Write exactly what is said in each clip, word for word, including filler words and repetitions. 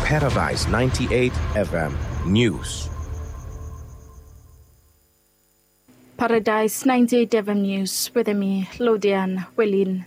Paradise ninety-eight F M News. Paradise ninety-eight F M News wetem mi, Lodian Welin.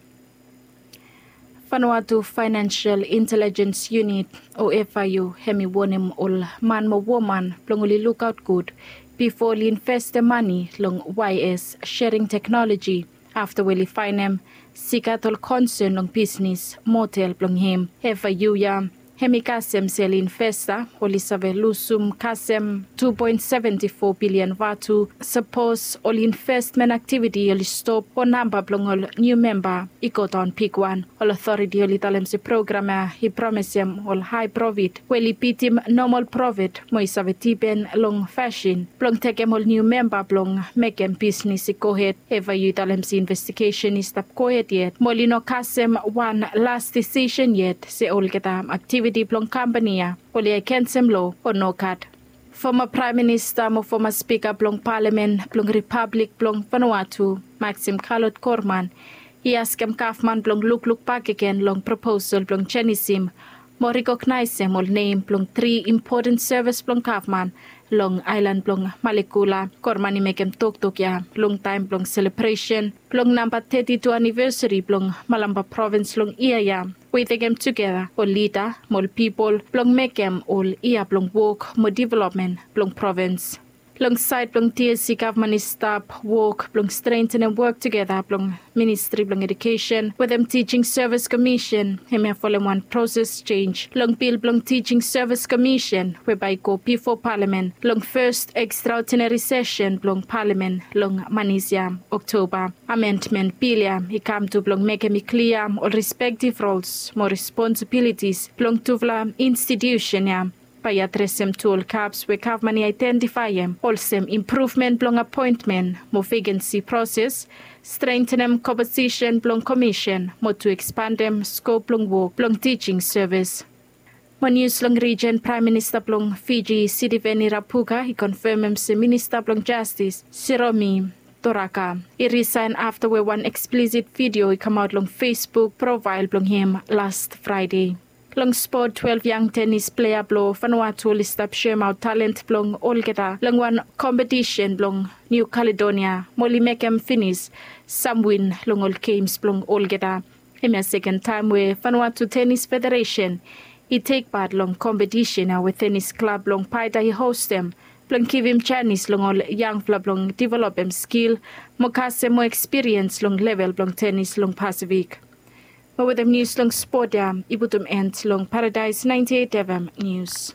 Vanuatu Financial Intelligence Unit, o F I U, hemi wonem ol man mo woman blong oli lukaot gud bifo oli investem mane long Y S Sharing Technology afta we oli faenem se i gat ol konsern long bisnis model blong hem. F I U ya hemi kasem se ol investa oli save lusum kasem two point seventy four billion vatu sapos ol investment aktiviti oli stop o namba blong ol niu memba i godaon bigwan. Ol otoriti oli talem se program ya i promisem ol hae profit we oli bitim nomol profit mo i save dipen long fasin blong tekem ol niu memba blong mekem bisnis i gohed. F I U i talem se investigesen i stap gohed yet mo oli no kasem wan las disisen yet se olgeta aktiviti blong kampani ya oli agensem loa o nogat. Foma Praem Minista mo foma Spika blong Palamen blong Ripablik blong Vanuatu, Maxim Kalot Korman, i askem gavman blong lukluk bakegen long proposal blong jenisim mo rekognaesem ol nem blong tri impoten sevis blong gavman long aelan blong Malekula. Korman i mekem toktok ya longtaem blong selebresen blong namba teti tu anivesari blong Malampa provins long yia ya, we i tekem tugeta ol lida mo ol pipol blong mekem ol yia blong wok mo developmen blong provins. Long saed blong T S C, gavman i stap wok blong strentenem wok tugeta blong Ministri blong Edukesen wetem Teaching Service Commission. Hemia folem wan proses jenj long bil blong Teaching Service Commission we bae i go bifo Palamen long fes ekstraodinari sesen blong Palamen long manis ya, Oktoba. Amendmen bil ya i kam tu blong mekem i klia ol respektiv rols mo responsibilitis blong tufala institusen ya. Bae i adresem tu ol gaps we gavman i aedentifaem, olsem impruvmen blong apoentmen mo vekensi proses, strentenem komposisen blong komisen mo tu ekspandem skop blong wok blong teaching sevis. Mo nius long rijen, Praem Minista blong Fiji, Sitiveni Rabuka, i konfemem se Minista blong Jastis, Siromi Toraka, i risaen afta we wan eksplisit vidio i kamaot long Facebook profael blong hem las Fraede. Long spot, twelef yang tenis plea blong Vanuatu oli stap soemaot talent blong olgeta long wan kompetisen blong Niu Kaledonia mo oli mekem finis sam win long ol gems blong olgeta. Hemia seken taem we Vanuatu Tenis Federesen i tek pat long kompetisen ya we tenis klab blong Paeta i hostem blong givim janis long ol yangfala blong developem skil mo kasem moa ekspiriens long level blong tenis long Pasifik. Mo wetem nius long spot ya i putum en long Paradise ninety eight F M News.